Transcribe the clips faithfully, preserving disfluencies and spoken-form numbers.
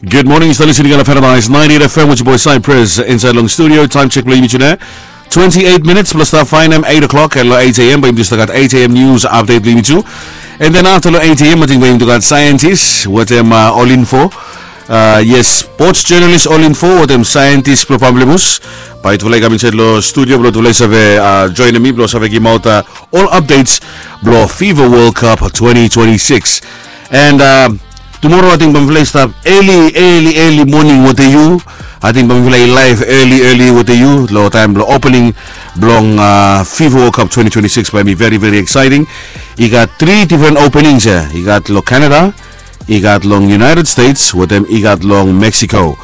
Good morning, yu stap listening long Paradise ninety-eight F M with your boy Cypress inside long studio. Time check blong yumi tune. Twenty-eight minutes blong stap faenem eight o'clock, and long eight a.m. bae yumi tu stap gat eight a.m. news update blong yumi tu. And then after long eight a.m. ating bae yumi tu gat scientist wetem uh, All Info. Uh, yes, sports journalist All Info wetem scientist blong Pamplemousse. Bae yutufala i kam insait long studio blong yutufala i save uh, joinim mi blong save gimaot uh, ol updates blong FIFA World Cup twenty twenty-six. And uh, tomorrow ating bae mifala i stap early early early morning wetem yu. Ating bae mifala i live early early wetem yu long taem blong opening blong uh, FIFA World Cup twenty twenty-six. Bae mi very very exciting. I gat three different openings ya. I gat long Canada, i gat long United States wetem i gat long Mexico.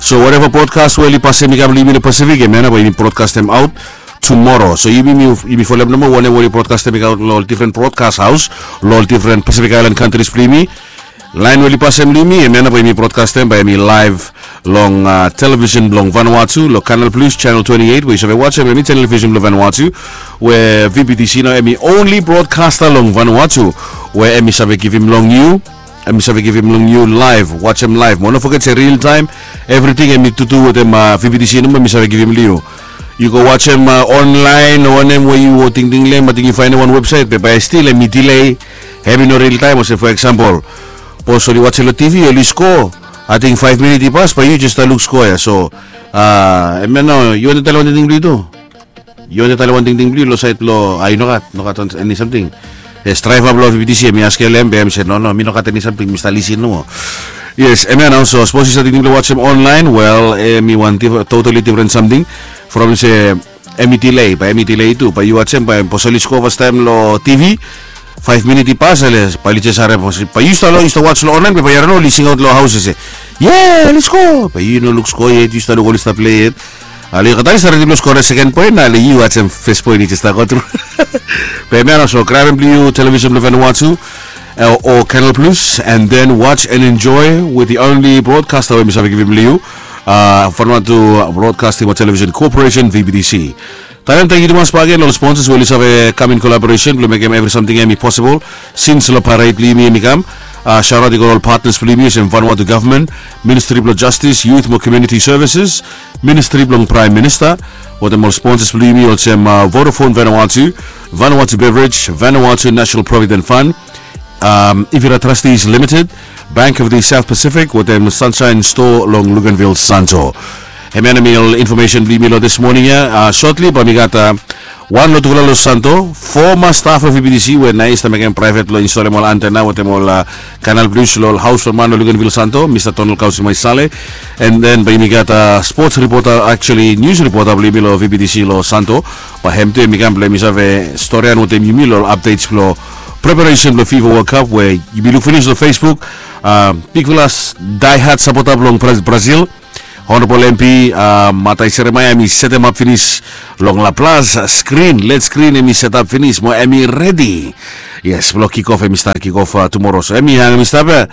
So whatever broadcast we oli pasem i kam long yumi long Pacific, hemia nao bae yumi broadcastem aot tomorrow. So yumi yumi folem nomo wanem we oli broadcastem i kam long ol different broadcast house long ol different Pacific Island countries blong yumi. Laen we oli pasem long yumi, hemia nao bae yumi broadcastem bae yumi live long uh, television blong Vanuatu long Canal Plus channel twenty-eight we yu save wajem hemi television blong Vanuatu, we V B T C nao hemi only broadcaster long Vanuatu we hemi save givim long yu. Hemi save givim long yu live, wajem live. Mo no foget se real time, everything hemi tutu wetem uh, V B T C nomo hemi save givim long yu. Yu go wajem uh, online o wanem we yu tingting long hem, ating yu faenem wan website be bae stil hemi delay. Hemi no real time. Olsem for example, sapos oli wajem long T V oli score, ating five minute i pas bae yu jes stap luk score ya. So uh, hemia nao yu wantem talem wan tingting blong yu tu? Yu wantem talem wan tingting blong yu long saed blong uh, yu nogat nogat eni samting? Yes, draeva blong V B T C hemi askem long hem be hemi se no no, mi nogat eni samting, mi stap lisin nomo. Yes, hemia nao. So sapos yu stap tingting blong wajem online, well, hemi wan totally different samting from se hemi delay, bae hemi delay tu. Bae yu wajem bae sapos oli score fastaem long T V, five minute i pas ale bae oli jes harem. Bae yu stap long yu stap waj long online be bae yu harem oli singaot long haos se, ye, oli score. Bae yu no luk score yet, yu stap luk oli stap play yet. Ale yu kata oli stap redi blong score seken poen, ale yu wajem fes poen i jes stap go tru. Be hemia nao, so grabem blong yu television blong Vanuatu uh, o Canal Plus, and then watch and enjoy with the only broadcaster we mi save givim blong yu, uh, Vanuatu Broadcasting Television Corporation, V B T C. Talem tangkiu tumas bakegen long ol sponsors we oli save kam in collaboration blong mekem evri samting hemi possible since long parade blong yumi hemi kam. Uh, shout out i go long ol partners blong yumi olsem Vanuatu Government, Ministry blong Justice, Youth mo Community Services, Ministry blong Prime Minister, wetem ol sponsors blong yumi olsem uh, Vodafone Vanuatu, Vanuatu Beverage, Vanuatu National Provident Fund, um, Ivira Trustees Limited, Bank of the South Pacific wetem Sunshine Store long Luganville, Santo. Hemia nao hemi ol information blong yumi long this morning ya. Uh, shortly bae mi gat uh, wan long tufala long Santo, former staff of V B T C we nao i stap mekem private blong installem ol antenna wetem ol uh, Canal Plus long ol haos blong man long Luganville, Santo, Mr. Donald Kausi Maisale. And then bae yumi gat uh, sports reporter, actually news reporter blong yumi long V B T C long Santo. Bae hem tu hemi kam blong hemi save storian wetem yumi long ol updates blong preparation blong FIFA World Cup we yumi luk finis long Facebook. Uh, bigfala diehard supporter blong Bra- Brazil, Honorable M P uh, Matai Seremaia, hemi setemap finis long La Paz screen, led screen hemi setap finis mo hemi redi. Yes, blong kick off, hemi stap kick off uh, tomorrow. So hemi hangem i stap ya.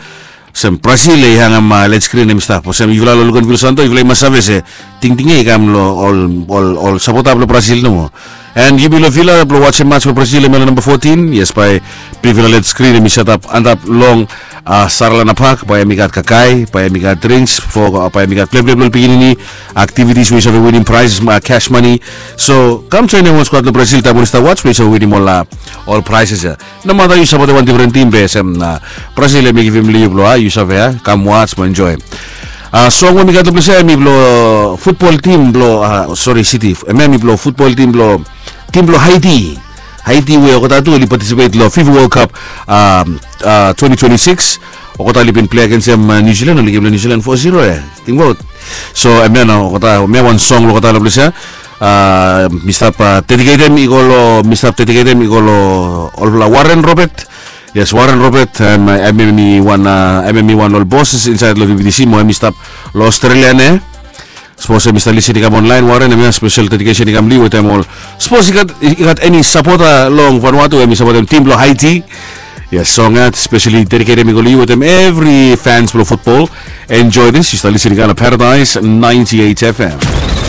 Olsem Brazil i hangem uh, led screen hemi stap. Olsem yufala long Luganville, Santo, yufala i mas save se tingting ya i kam long ol ol ol sapota blong Brazil nomo. And yumi long Villa blong wajem match blong Brazil hemia long namba fourteen. Yes, bae bigfala led screen hemi setap antap long uh, Saralana Park, bae hemi gat kakae, bae hemi gat drinks for uh, bae hemi gat pleple blong pikinini, activities we yu save winim prizes, uh, cash money. So kam joenem wan squad long Brazil taem oli stap waj blong yu save winim ol uh, ol prizes ya. Nomata yu sapotem wan different team be olsem uh, Brazil hemi givim long yu blong uh, yu save uh, kam waj mo enjoy. Uh, song we mi gat long ples ya hemi blong football team blong uh, sorry, City, hemia hemi blong football team blong team blong Haiti. Haiti we olgeta tu oli participate long FIFA World Cup um, uh, twenty twenty-six. Olgeta oli bin play agensem uh, New Zealand, oli givim long New Zealand four zero ya, tingbaot. So hemia nao olgeta, hemia wan song long olgeta long ples ya. Uh, mi stap uh, dediketem i go long mi stap dediketem i go long olfala Warren Robert. Yes, Warren Robert, um, hemi wan uh, hemi wan ol bosses insaed long V B T C mo hemi stap long Australia nao. Sapos hemi stap lisin i kam online, Warren, hemia special dedication i kam long yu wetem ol. Sapos i gat i gat eni sapota long Vanuatu hemi sapotem tim blong Haiti, yes, song ya specially dediketem i go long yu wetem evri fans blong football. Enjoy this, yu stap lisin i kam long Paradise ninety-eight F M.